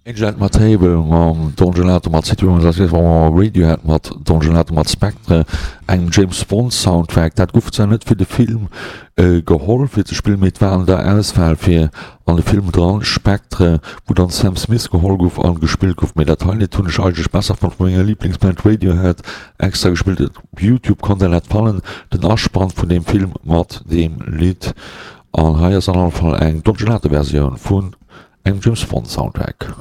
Angel at my Table mam Don Gelato mat City Woman Radiohead mat Don Gelato mat Spectre, engem James Bond Soundtrack. Dat gouf zwar net fir de Film geholl fir ze spillen, mee et war an der Auswahl fir an de Film dran, Spectre, wou dann Sam Smith geholl gouf an gespillt gouf. Mee dat hei Lidd hunn ech eigentlech besser fonnt vu menger Liblingsband Radiohead extra gespillt. Op Youtube konnt der dat fannen, den Aspann vun deem Film mat deem Lidd. An hei ass an alle Fall eng Don Gelato Versioun vun engem James Bond Soundtrack.